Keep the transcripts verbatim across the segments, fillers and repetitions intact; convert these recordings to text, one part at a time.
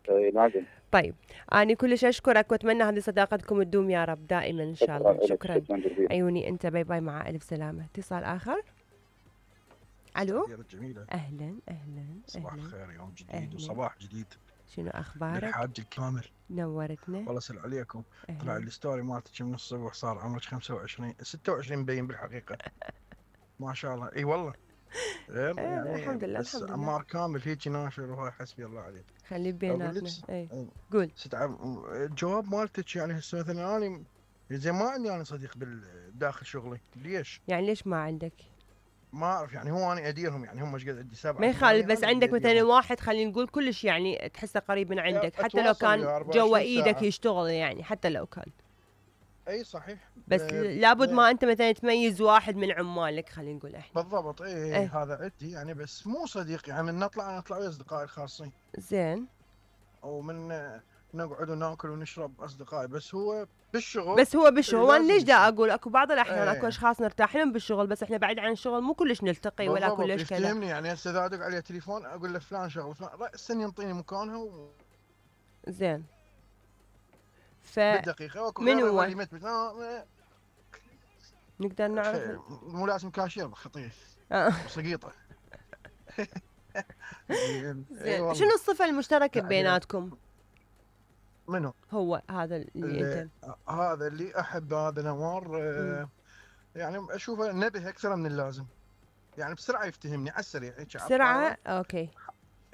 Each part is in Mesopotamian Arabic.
اي لازم. طيب أنا كلش أشكرك وأتمنى هذه صداقتكم تدوم يا رب دائما إن شاء الله. شكرا, شكرا. عيوني أنت. باي باي مع ألف سلامة. اتصال آخر. ألو. جميلة. أهلا أهلا. صباح الخير، يوم جديد أهلاً. وصباح جديد. شنو أخبارك؟ الحاج الكامل. نورتنا. والله سل عليكم. أهلاً. طلع الستوري مالتك من الصبح صار عمرك خمسة وعشرين ستة وعشرين مبين بالحقيقة. ما شاء الله. اي والله. غير يعني الحمد لله بس الحمد لله. عمار كامل هيك ناشر وهاي حسبي الله عليك. خلي بيناتنا. اي قول. الجواب مالتك يعني هسه مثلا انا زين ما عندي انا صديق بالداخل شغلي. ليش؟ يعني ليش ما عندك؟ ما اعرف يعني هو انا اديرهم يعني هم ايش قد عندي سبعه. ما يخالف بس عندك مثلا واحد خلينا نقول كلش يعني تحسه قريب من عندك حتى لو كان جوا ايدك يشتغل يعني حتى لو كان. اي صحيح. بس لابد ما انت مثلا تميز واحد من عمالك خلينا نقول احنا. بالضبط. اي ايه. هذا عندي يعني بس مو صديق يعني من نطلع نطلع ويا اصدقائي الخاصين. زين. ومن نقعد وناكل ونشرب اصدقائي بس هو بالشغل. بس هو بالشغل وانا ليش دا اقول اكو بعض الاحيان اكو اشخاص نرتاح لهم بالشغل بس احنا بعيد عن الشغل مو كلش نلتقي ولا كلش كذا. يفتهمني يعني هسه اذا ادق عليه تليفون اقول له فلان شغل فلان راسا ينطيني مكانها و... زين. ف بالدقيقه من هو؟ ما... نقدر نعرف مو لازم كاشير خطير وسقيطه. زين. شنو الصفه المشتركه بيناتكم؟ منو؟ هو هذا اللي, اللي انت هذا اللي احب هذا نوار. آه يعني اشوفه نبه اكثر من اللازم يعني بسرعه يفتهمني على السريع هيك بسرعه. اوكي.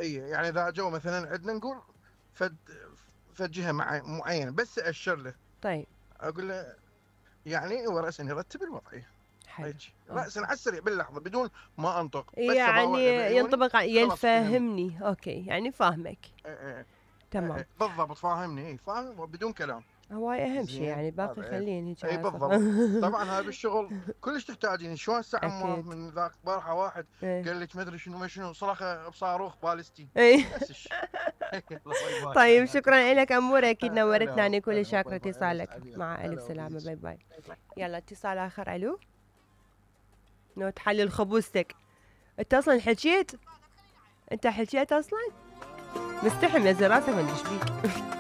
اي يعني اذا جو مثلا عندنا نقول فد فد جهه معينه بس اشر له. طيب اقول له يعني هو راسا يرتب الوضعيه حلو راسا على السريع باللحظه بدون ما انطق بس يعني ينطبق يفهمني. اوكي يعني فاهمك. اي اي تمام. بالضبط فاهمني. اي فاهم بدون كلام. هواي اهم شيء يعني باقي خليني اي بالضبط. طبعا هذا بالشغل كلش تحتاجين شلون ساعه من ذاك بارحه واحد قال لك ما ادري شنو ما شنو صرخه بصاروخ بالستي. اي طيب شكرا لك اموره اكيد نورتنا. انا كل شاكره اتصالك. مع الف سلامه. باي باي. يلا اتصال اخر. الو. نو تحلل خبوزتك انت اصلا حكيت. انت حكيت اصلا مستحي منزل راسك ما ادري ايش بيك.